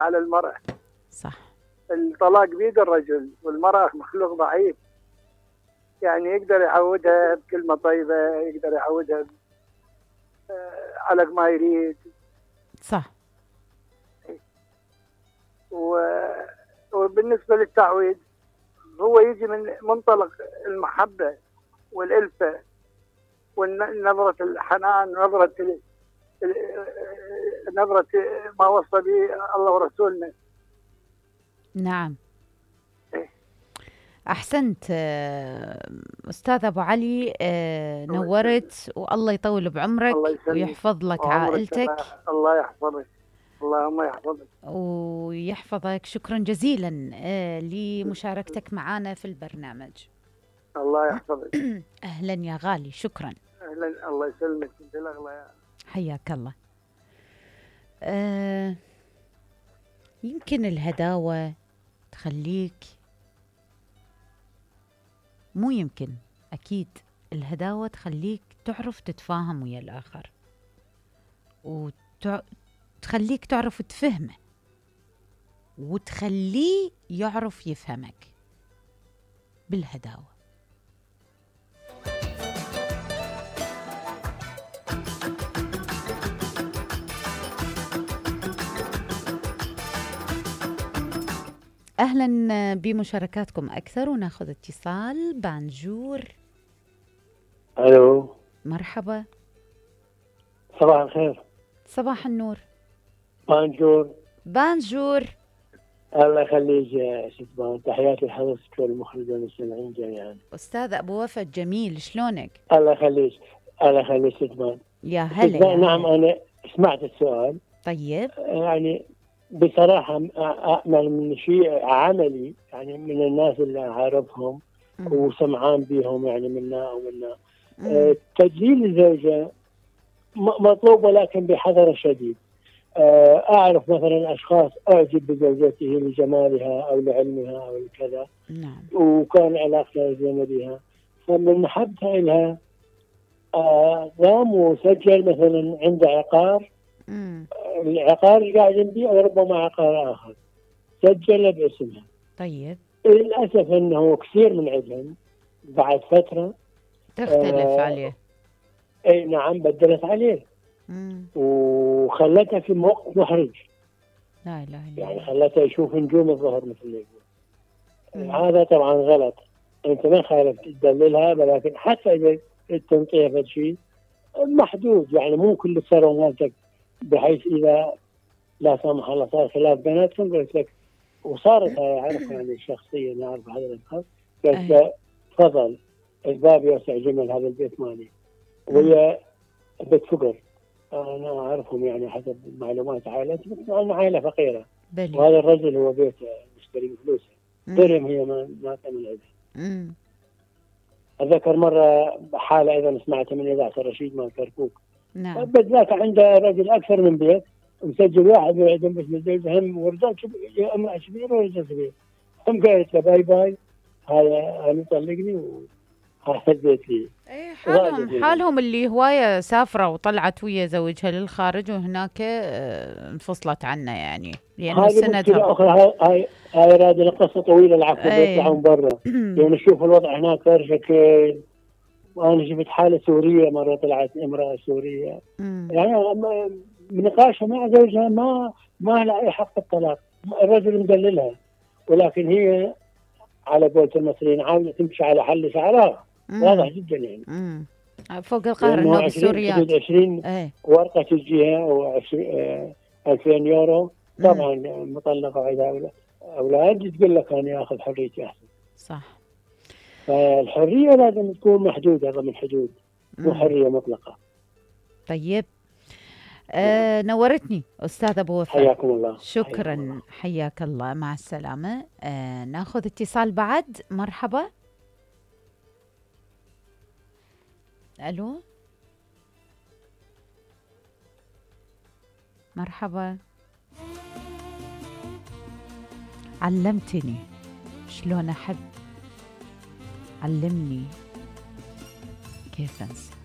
على المرأة. صح. الطلاق بيد الرجل، والمرأة مخلوق ضعيف، يعني يقدر يعودها بكلمة طيبة، يقدر يعودها على ما يريد. صح. وبالنسبة للتعويض هو يجي من منطلق المحبة والألفة ونظرة الحنان، نظرة ما وصى به الله ورسولنا. نعم. أحسنت أستاذ أبو علي، نورت، والله يطول بعمرك ويحفظ لك عائلتك. الله يحفظك، اللهم يحفظك ويحفظك. شكرا جزيلا لمشاركتك معنا في البرنامج. الله يحفظك. أهلا يا غالي، شكرا. أهلا، الله يسلمك، انت الأغلى. حياك الله. يمكن الهداوة تخليك، مو يمكن، أكيد الهداوة تخليك تعرف تتفاهم ويا الآخر، وتخليك تعرف تفهمه، وتخليه يعرف يفهمك بالهداوة. أهلا بمشاركاتكم أكثر، وناخذ اتصال. بانجور. ألو، مرحبا. صباح الخير. صباح النور. بانجور. الله يخليك يا شتبان، تحياتي لحضرتك والمخرج والمستمعين جميعا. أستاذ أبو وفا الجميل، شلونك؟ الله يخليك شتبان. يا هلا. نعم، أنا سمعت السؤال. طيب. يعني بصراحة أأمل من شيء عملي، يعني من الناس اللي أعرفهم وسمعان بيهم، يعني منا ومنا. تدليل الزوجة مطلوب، ولكن بحذر شديد. أعرف مثلا أشخاص أعجب بزوجته لجمالها أو لعلمها أو لكذا. نعم. وكان علاقتها زينة بها، فمن محبتها لها قام وسجل مثلا عند عقار. العقار اللي قاعد يبيع وربما عقار آخر سجل باسمها. طيب. للأسف أنه كثير من عندهم بعد فترة تختلف عليه. أي نعم، بدلت عليه. وخلتها في موقف محرج. لا إله إلا الله. يعني خلتها يشوف نجوم الظهر مثل ما يقول. هذا طبعا غلط. أنت ما خالف تدللها، ولكن حتى إذا تنطيها شيء محدود، يعني مو كل تصرف مالتك، بحيث إذا لا سمح الله صار خلاف بيناتهم قلت لك، وصارت هاي أعرفها يعني شخصيا، أعرف هذا الأشخاص، قلت له تفضل الباب يوسع جمل هذا البيت مالي، وهي بيت فقر. أنا أعرفهم يعني حسب معلومات عائلتي، بس أنا عائلة فقيرة. وهذا الرجل هو بيته مشتري بفلوسه، درهم هي ما تعمل عندها. أذكر مرة حالة أيضا سمعتها من إذاعة الرشيد مال كركوك. نعم. بالذات عنده رجل أكثر من بيت، مسجل واحد وعندهم بس مزوج هم ورجال يا امرأة كبيرة ورجال كبير. هم قالت له باي باي، هذا طلقني وهذا البيت لي. ايه، حالهم اللي هواية سافرة وطلعت ويا زوجها للخارج، وهناك انفصلت عنه، يعني لأنه سندها. هاي رادة قصة طويلة، العفو. بيطلعون برا يعني نشوف الوضع هناك شكل. وأنا جبت حالة سورية مرة، طلعت امرأة سورية يعني بنقاشها مع زوجها ما لها أي حق الطلاق، الرجل مدللها، ولكن هي على قولة المصريين عاوزة تمشي على حل شعرها. واضح جدا يعني. فوق القهر النوب السوريات. 20 ورقة تجيها، أو 2000 يورو. طبعا مطلقة وعندها أولاد، تقول لك أنا آخذ حريتي أحسن. صح. فالحرية لازم تكون محدودة ضمن حدود، مو حرية مطلقة. طيب. نورتني أستاذ أبو وفا. حياكم الله. شكرا. حياك الله. مع السلامة. ناخذ اتصال بعد. مرحبا. ألو، مرحبا. علمتني شلون أحب، علمني كيف أنسى.